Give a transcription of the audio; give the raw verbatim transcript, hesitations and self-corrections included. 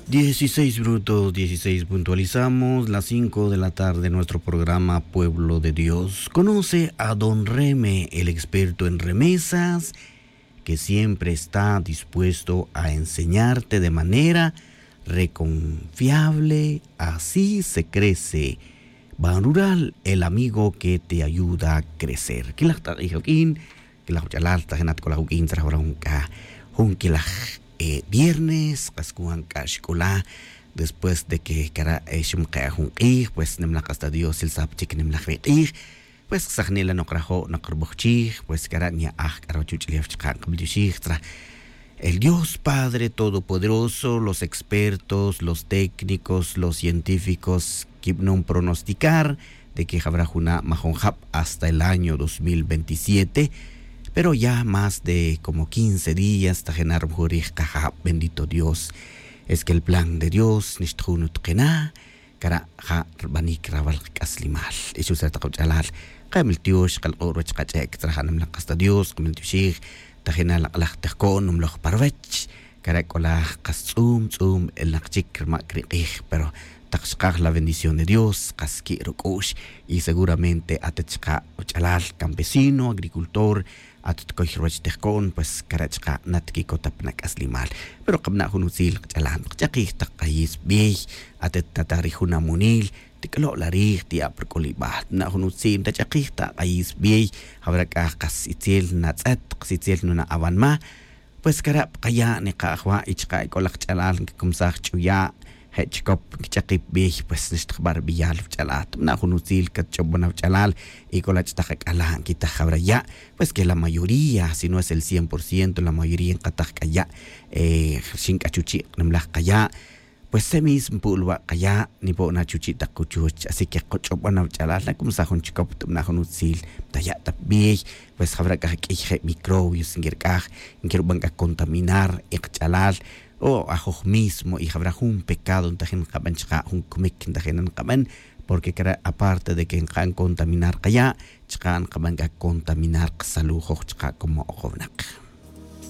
Dieciséis minutos dieciséis, puntualizamos las cinco de la tarde. Nuestro programa Pueblo de Dios. Conoce a don Reme, el experto en remesas, que siempre está dispuesto a enseñarte de manera reconfiable. Así se crece. Ban Rural, el amigo que te ayuda a crecer. Quilaj t'ak'ij awuq'uin, quilaj wach'alal, tajin at c'o laj awuq'uin tzra jun k'a jun quilaj viernes, kas cuan c'a xc'ula. Después de que cara' xumke' jun k'ij, pues nimlaj hasta dios sil sap chic nimlaj ri k'ij. Pues sajni la' nok rajo' nok rubujchij, pues cara' nya'aj c'a ruwach uch'ulef chaka' nkabel tioxij tzra. El dios padre todopoderoso, los expertos, los técnicos, los científicos, quibnom pronosticar de que jabra juna' majon jab hasta el año dos mil veintisiete. Pero ya más de como quince días tajena' rumujurij kajab. Bendito dios. Es que el plan de dios nixtajun utkena'. Cara' ja' rbanic rawal kac'aslimal. Ixutzra tak wach'alal, kemel tiox kalk'o' ruwach kach'e' ctzra ja' nimlak kasta dios kemel tioxij. Tajina' lak'laj tejco'n numloj pa ruwech. Cara' c'o laj kas tz'um tz'um elnak chic rmac ri k'ij, pero tak xkaj la bendición de dios kas qui' ruc'u'x. Y seguramente at chaka' wach'alal campesino agricultor, at tcoy ruwach tejco'n pues cara' chaka' nat quicotap na c'aslimal. Pero kabana' jun utzil kach'alan kach'akij tak k'ayis bey. At tataj ri jun amonil, tic'olo' la rij ti'ab ric'ulibal tabana' jun utzil tach'akij tak k'ayis bey. Jawra c'a kas itzel natz'et kas itzel nuna' awanma. Pues cara' pa kaya' nika'aj wa' y chaka' c'o laj ch'alal ncacumsaj ch'uya', je' chicop ncach'akip bey pues nixtajba' ri beyal wach'alal tabana' jun utzil catch'obon awach'alal. Y c'o la ch'atak ac'ala' nquitaj jawra ya', pues que la mayoría si no es el cien por ciento la mayoría nkataj c'a ya'. Rxin c'a chuchi' nimlaj kaya'. Pues se mismo pu'l wa' kaya' nipo' na chuchi' tak cuchuch así que kach'obon awach'alal nacumsaj jun chicop tabana' jun utzil. Taya' ta pa bey, pues jawra c'a q'uiy je' microbios nquirc'aj, nquirban c'a contaminar y kach'alal. O ajoj mismo y jawra jun pecado ntajin nkaben chaka' jun cmic ntajin nkaben. Porque cara' aparte de que nkaben contaminar kaya', chaka' nkaben c'a contaminar kasalujoj chaka' como okownak.